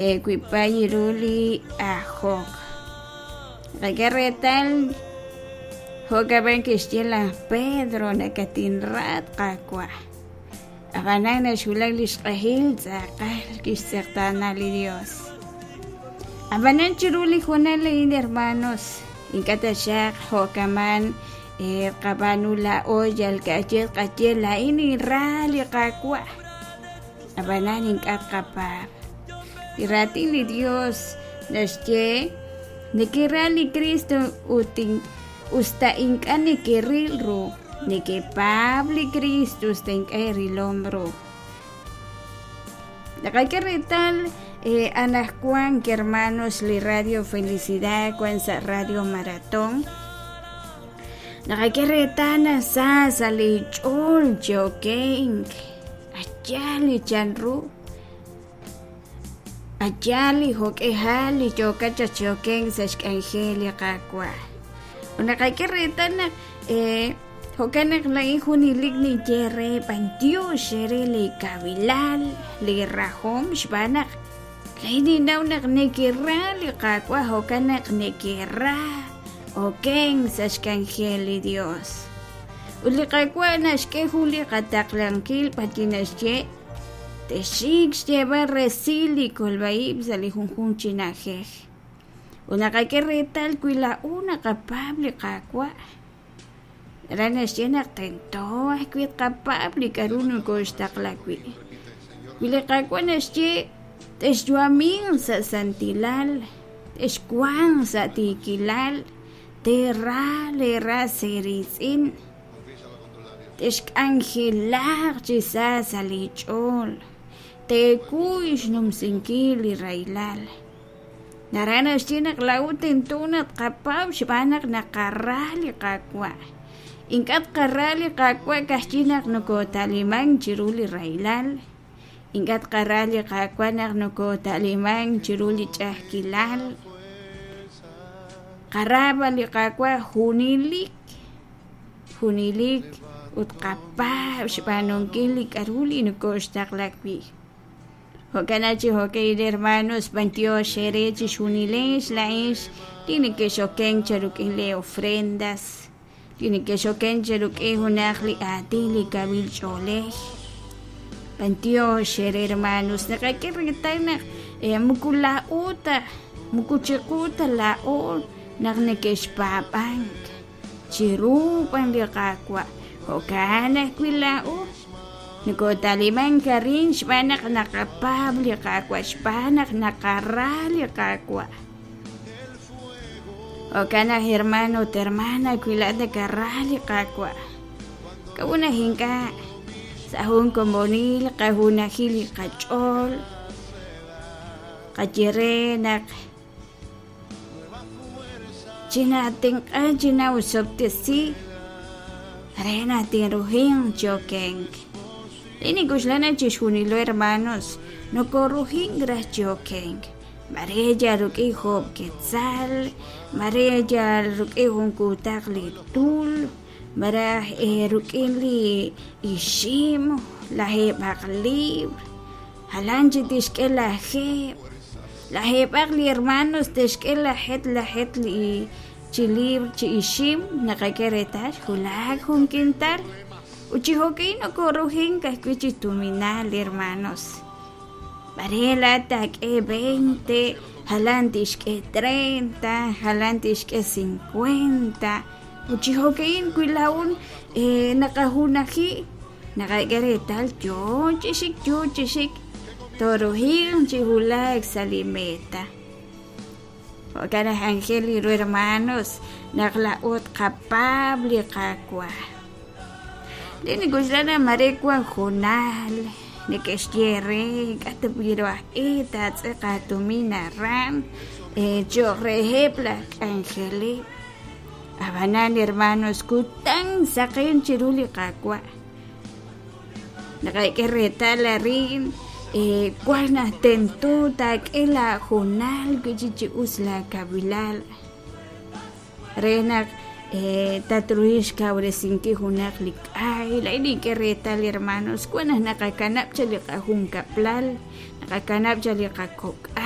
Wiib' ru li ajok. Naqak'e reetal jo'kab'an kixye laj Pedro nakatinra at Qaawa'. Ab'anan naxwulak li xq'ehil tz'aqal kixtz'eqtaana li Dios. Ab'anan chiru li hoonal a'in hermanos, ink'a' taxaq jo'kaman qab'aanu laa'o yal ka'ajwi' tqaye laa'in ninra li Qaawa'. Ab'anan ink'a' tqapaab'. Li Raatin li Yos naxye, Nekera li Kristo ut usta ink'a' nekeril ru, nekepaab' li Kristo usta ink'a' eerilom ru. Naqak'e reetal eh, anaqwan hermanos li Radio Felicidad wan sa' Radio Maratón. Naqak'e reetal naq sa sa' li ch'ool chi okenk. Yaal li chanru, yaal li jo'k'ihal li yookat chaq chi okenk sa' xk'anjel li Qaawa'. Ut naqak'e reetal naq jo'kan naq laa'in junelik ninye re b'antiox eere li kawilal, li rajom xb'aan naq laa'in ninnaw naq nekera li Qaawa' jo'kan naq nekera okenk sa' xk'anjel li Dios. Ut li Qaawa' naxk'e jun li qataqlankil b'arwi' naxye, Texxik xyeeb'al resil li kolb'a-ib' sa' li junjunq chi na'ajej. Ut naqak'e reetal wi laa'o naqapaab' li Qaawa', aran naxye naq tento ajwi' tqapaab' li k'a'ru nokoxtaqla wi'. Wi li Qaawa' naxye, Texyu'aminq sa' santilal, texwanq sa' tiikilal, Teera leeras eeriitz'in, texk'anjelaq chi sa sa' leech'ool, teekuy xnumsinkil li rahilal. Naraj naxye naq laa'o tento naq tqapaab' xb'aan naq naqara li Qaawa'. Ink'a' tqara li Qaawa' ka'ajwi' naq nokoota'limank chiru li rahilal. Ink'a' tqara li Qaawa' naq nokoota'limank chiru li ch'a'ajkilal. Qara b'an li Qaawa' junelik, junelik ut qapaab' xb'aanunkil li k'a'ru li nokoxtaqla wi'. Jo'kan chi jo'kan hermanos, b'antiox eere chixjunilex laa'ex li nekex'okenk cherik'in lee ofrendas. Li nekex'oken cheruk'in junaq li aatin li kawil ch'oolej. B'antiox eere hermanos, naqak'e reetal naq moko laa'o ta, moko chiqu ta laa'o naq neke'xpaab'ank, chiru b'an li Qaawa'. Jo'kan ajwi' laa'o nokota'limank arin xb'aan naq naqapaab' li Qaawa', xb'aan naq naqara li Qaawa'. Jo'kan naq hermano ut hermana wi laa'at nakara li Qaawa', k'a'ut naq ink'a' sa' jun komonil qajunajil li qach'ool qaye re naq chinaatenq'a chinawusob'tesi re naq tinruhinq chi okenk. Li nink'oxla naq chixjunilo hermanos nokorujink raj chi okenk. Mare yal rik'in joob' ketzal, mare yal rik'in jun kuutaq li tul, malaj rik'in li ixim, lajeeb'aq lib'r, jalan chik tixk'e lajeeb', lajeeb'aq li hermanos te'xk'e lajet lajet li chi lib'r chi ixim, naqak'e reetal xwulak jun kintal ut chi jo'ka'in nokorujink ajwi' chi tuminal hermanos. Mare laa'at taak'e veinte, jalan tixk'e treinta, jalan tixk'e cincuenta. Ut chi jo'ka'in wi laa'un naqajunaji naqak'e reetal yoo chi xik yoo chi xik tooruhinq chi wulak sa' li meta. Jo'kan aj anjel li ru hermanos naq laa'o tqapaab' li Qaawa'. Li nik'oxla naq mare wan hoonal neke'xye re k'a' ta wi' ru aj e taatz'eq aatumin aran cho'q reheb' laj k'anjeleb'. Ab'anan hermanos kutan saqen chiru li Qaawa'. Naqak'e reetal arin wan naq tento taak'e laahoonal wi' chik chi us laakawilal re naq Tatruhil xkawresinkil junaq li k'ay. Laa'in nink'e reetal, hermanos, wan naq naqakanab' chaq li qajunkab'lal, naqakanab' chaq li qakok'al.